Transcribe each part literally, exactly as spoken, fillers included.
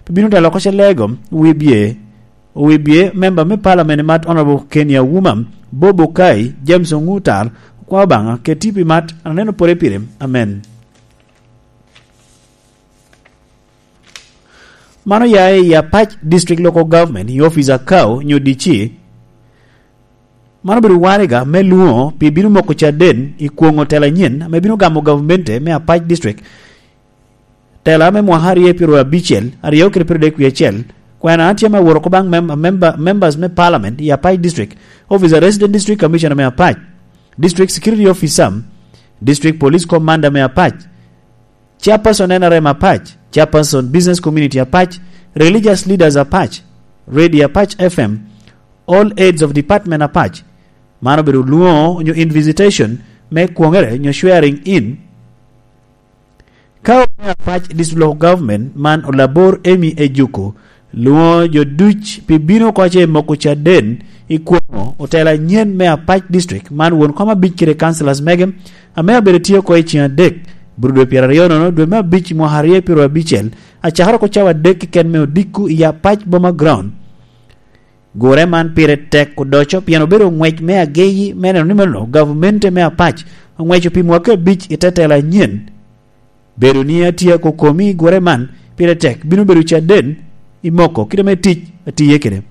Pi bino telo oko Celego, Wibye, Wibye, member me Parliament Mat Honorable Kenya Wuma, Bob Okai, James Ongutal, okwa Obaŋa, keti pi mat, aneno pore pire. Amen. Mano ya i Apac District Local Government, i office Akau, nyo D C. Mano obedo waraga me lwoŋo pi bino moko caden i kwoŋo tela anyen ame bino gamo gavmente me Apac District. Tela me mwaka aryo pyero abicel, aryo kede pyero dek wie acel, kwena tye me woro oko baŋ mem-, member, members me Parliament i Apac District, Office of Resident District Commissioner me Apac, District Security Officer, District Police Commander me Apac, Chairperson N R M Apac, Chairperson Business Community Apac, Religious Leaders Apac, Radio Apac F M, All Heads of Department Apac. Man obedo lwoŋo onyo invitation me kwoŋere onyo swearing in. Ka omiyo Apac District Local Government man Olabor Amy Ejuku, lwoŋo jo duc pi bino oko ce moko caden i kwoŋo otela anyen me Apac District man won kom abic kede councillors mege, ame abedo tye oko i ceng adek, bur dwe pyeraryo nono dwe me abic mwaka aryo pyero abicel, acakere oko cawa adek keken me odiko i Apac Boma Ground. Gure man pire tek odoco pien obedo ngwec me ageyi me neno ni meno gavmente me Apac oŋweco pi mwaka abic i te tela anyen. Bedo ni atye akokomi i gure man pire tek bino bedo caden i moko kite me tic atiye kede.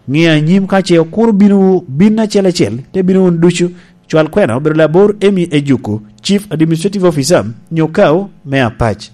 Ŋe anyim ka ce okuro bino bin acel acel, te bino wun ducu, cwal kwena obedo labor Amy Ejuku, Chief Administrative Officer, nyo Kao me Apac.